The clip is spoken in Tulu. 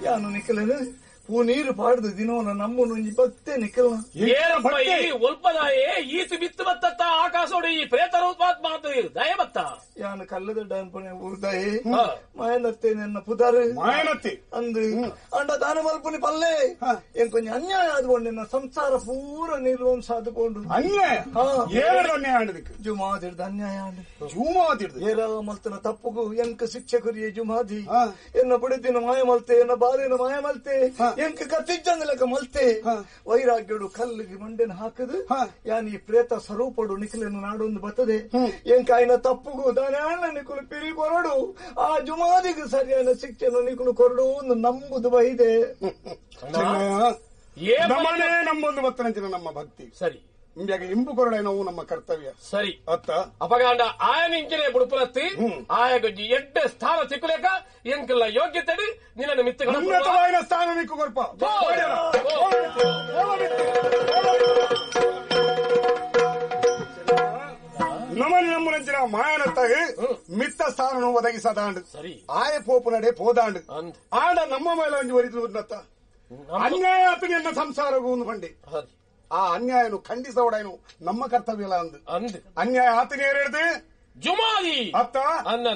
ಯಾನು ನಿಕಲೇನು ಪೂ ನೀರು ಪಾಡ್ದು ದಿನವನ ನಮ್ಮನು ಭಕ್ತೆ ನಿಕಲ್ನ ಏರಪ್ಪ ಈ ಒಲ್ಪದಾಯೇ ಈತು ಬಿತ್ತು ಬತ್ತತ್ತ ಆಕಾಶೋಡು ಈ ಪ್ರೇತ ರೂಪಾತ್ಮ ದಯ ಬತ್ತ ಯಾನು ಕಲ್ಲದ ಡಾನ್ಪನೆ ಊರ್ದಾಯೇ ಹಾ. ಮಾಯನತ್ತೆ ನನ್ನ ಪುದಾರು ಮಾಯನತ್ತಿ ಅಂದು ಅಂಡ ದಾನ ಮಲ್ಪುನಿ ಪಲ್ಲೆ ಏನ್ ಕೊಂಚ ಅನ್ಯಾಯ ಆದ್ಕೊಂಡು ನಿನ್ನ ಸಂಸಾರ ಪೂರ ನಿರ್ವಂಶ ಆದುಕೊಂಡು ಅನ್ಯಾಯ ಹಾ. ಏರಡು ಅನ್ಯಾಯ ಆಂಡದಕ್ಕೆ ಜುಮಾದಿಡ್ದ ಅನ್ಯಾಯ ಆಂಡು ಜೂಮಾದಿಡ್ದು ಏರ ಮಲ್ತನ ತಪ್ಪುಗು ಎಂಕ ಶಿಕ್ಷೆ ಕುರಿಯ ಜುಮಾದಿ ಹಾ. ಎನ್ನ ಬುಡಿದಿನ ಮಾಯ ಮಲ್ತೆ ಎನ್ನ ಬಾಲಿನ ಮಾಯ ಮಲ್ತೆ ಹಾ. ಎಂಕ ಕತ್ತಿಜ್ಜಂದಲಕ ಮಲ್ತೆ ಹಾ. ವೈರಾಗ್ಯಡು ಕಲ್ಲಿಗೆ ಮಂಡೆನ ಹಾಕದು ಹಾ. ಯಾನ್ ಈ ಪ್ರೇತ ಸ್ವರೂಪಡು ನಿಖಿಲನ್ನು ನಾಡೊಂದು ಬರ್ತದೆ ಎಂಕ ಆಯ್ನ ತಪ್ಪುಗು ದಾನೆ ಅಣ್ಣ ನಿಕುಲು ಪಿರಿ ಕೊರಡು ಆ ಜುಮಾದಿಗೆ ಸರಿಯಾದ ಶಿಕ್ಷೆಯನ್ನು ನಿಕುಲು ಕೊರಡು ಒಂದು ನಂಬುದು ಬೈದೆ ಏ ನಮ್ಮನೇ ನಮ್ಮೊಂದು ಬತ್ತನಂಚಿನ ನಮ್ಮ ಭಕ್ತಿ ಸರಿ ಇಂಬ್ಯಾಗ ಇಂಬು ಕೊರಡೆ ನಾವು ನಮ್ಮ ಕರ್ತವ್ಯ ಸರಿ ಅತ್ತ ಅಪಗಾಂಡ ಆಯನ ಬುಡುಪುಲತ್ತಿ ಆಯ ಗೊಜ್ಜಿ ಎಡ್ಡೆ ಸ್ಥಾನ ಸಿಕ್ಕುಲೇಕ ಎಂಕಲ್ಲ ಯೋಗ್ಯತೆಡಿ ನಿನ್ನ ಮಿತ್ತುಗಳ ಉನ್ನತವಾದ ಸ್ಥಾನ ನಿಕ್ಕು ಕೊರ್ಪ ನಮನಿ ನಮ್ಮನಂಚಿನ ಮಾಯನತ್ತಾಗ ಮಿತ್ತ ಸ್ಥಾನನು ಒದಗಿಸದಾಂಡು ಸರಿ. ಆಯ ಪೋಪು ನಡೆ ಪೋದಾಂಡು ಅಂದ್. ಆಂಡ ನಮ್ಮ ಮೇಲೆ ಒಂಜಿ ಒರಿತು ಉನ್ನತ್ತ ಅನ್ಯಾಯ ಆತನ ಸಂಸಾರಗೂ ಒಂದು ಬಂಡಿ ಸರಿ ಆ ಅನ್ಯಾಯನು ಖಂಡಿಸೋಡೇನು ನಮ್ಮ ಕರ್ತವ್ಯ ಅಲ್ಲ ಅಂದು ಅಂದ್ ಅನ್ಯಾಯ ಆತನ ಏರಿಡ್ದು ಜುಮಾದಿ ಅತ್ತ ಅನ್ನ